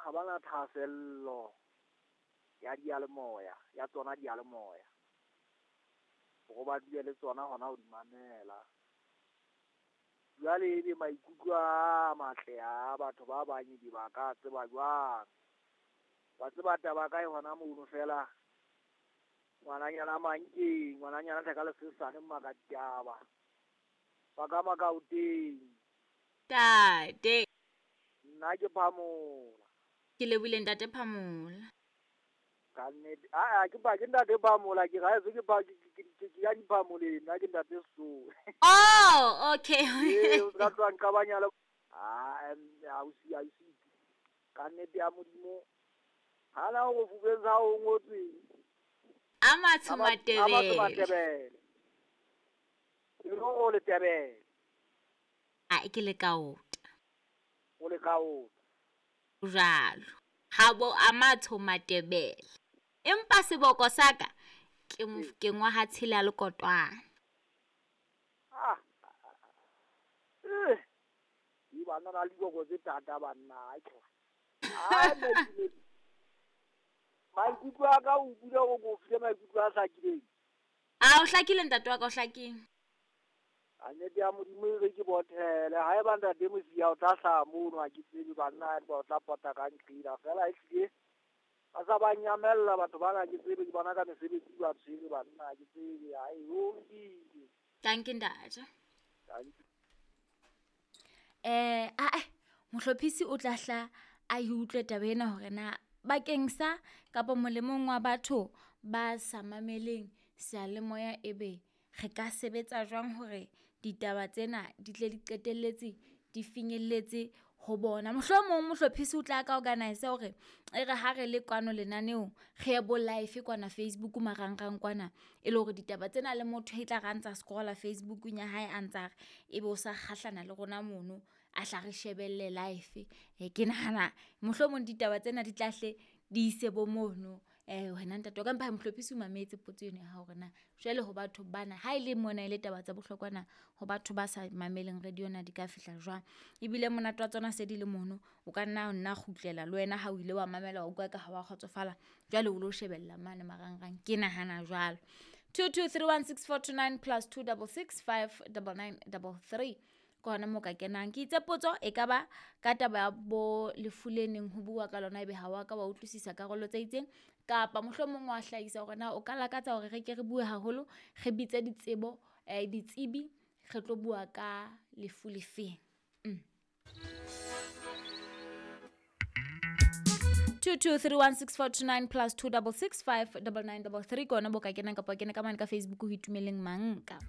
ha bana thahasello ya diyalemoya, ya tsona diyalemoya. Hore ba dule le tsona hona ho di mamela. Jwale ebe maikutlo a matle a batho ba bang ebe ba ka tseba jwang? Wa tseba taba ka e hona mono feela, ngwananyana Mankeng, ngwananyana thaka le sesane Mmakataba. Ba ka Makaoteng. Ntate. Nna ke Phamola. Ke lebohile ntate Phamola. Ka nnete. Aa ke ba ke ntate Phamola ke ra ke ba ke ya diphamoleng nna ke ntate Sesowe. Oh, okay. Ee, o ska tloha nqabanya le ah ausi ausi. Ka nnete ya Modimo. Hana ho fubeng sa ho ngotswe. A matsho Matebele. A matsho Matebele. E le o le Tebele. A ke le kaota. O le kaota. Jwalo. Habo a matsho Matebele. Empa seboko sa ka ke mofokeng wa ha tshela le kotwana. Ah. Di banna na le diboko tse thata banna. Ah, maikutlo a ka o bule hore ko file maikutlo a hlakileng. A o hlakile ntate wa ka o hlakile. A nnete ya Modimo e re ke bothele ha eba ntate Mosia o tla hlaha mono ha ke tsebe banna ba o tla pota ka nqila fela ehlile ba sa ba nyamella batho bana ke tsebe ke bona ka mesebetsi ba tshwere banna ke tsebe ai ho lokile. Thank you ntate. Thank you. Mohlophisi o tla hla a e utlwe taba ena hore na bakeng sa kapa molemong wa batho ba sa mameleng seyalemoya ebe re ka sebetsa jwang hore ditaba tsena di tle di qetelletse di finyelletse ho bona. Mohlomong mohlophisi o tla ka organize hore e re ha re le kwano lenaneong re ye bo live kwana Facebook marangrang kwana e le hore ditaba tsena le motho e tla ra ntsa scrolla Facebookung ya hae a ntsa re ebe o sa kgahlana le rona mono a hla re shebelle live. Ke nahana mohlomong ditaba tsena di tla hle di ise bo mono. Wena ntate wa ka empa mohlophisi o mametse potso eno ya hao hore na jwale ho batho bana ha e le mona e le taba tsa bohlokwa na ho batho ba sa mameleng radio na di ka fihla jwang. Ebile monate wa tsona se di le mono o ka nna nna kgutlela le wena ha o ile wa mamela wa utlwa ka ha wa kgotsofala jwale o lo shebella mane marangrang ke nahana jwalo. 22316429 plus 26659933 ke hona moo ka kenang. Ke itse potso e ka ba ka taba ya bo lefu le neng ho bua ka lona ebe ha wa ka wa utlwisisa karolo tse itseng kapa mohlomong wa hlahisa hore na o ka lakatsa hore re ke re bue haholo re bitse ditsebo ditsebi re tlo bua ka lefu lefeng. 22316429 plus 26659933 ke hona bo ka kenang kapa o kene ka mane ka Facebook ho Itumeleng Manka.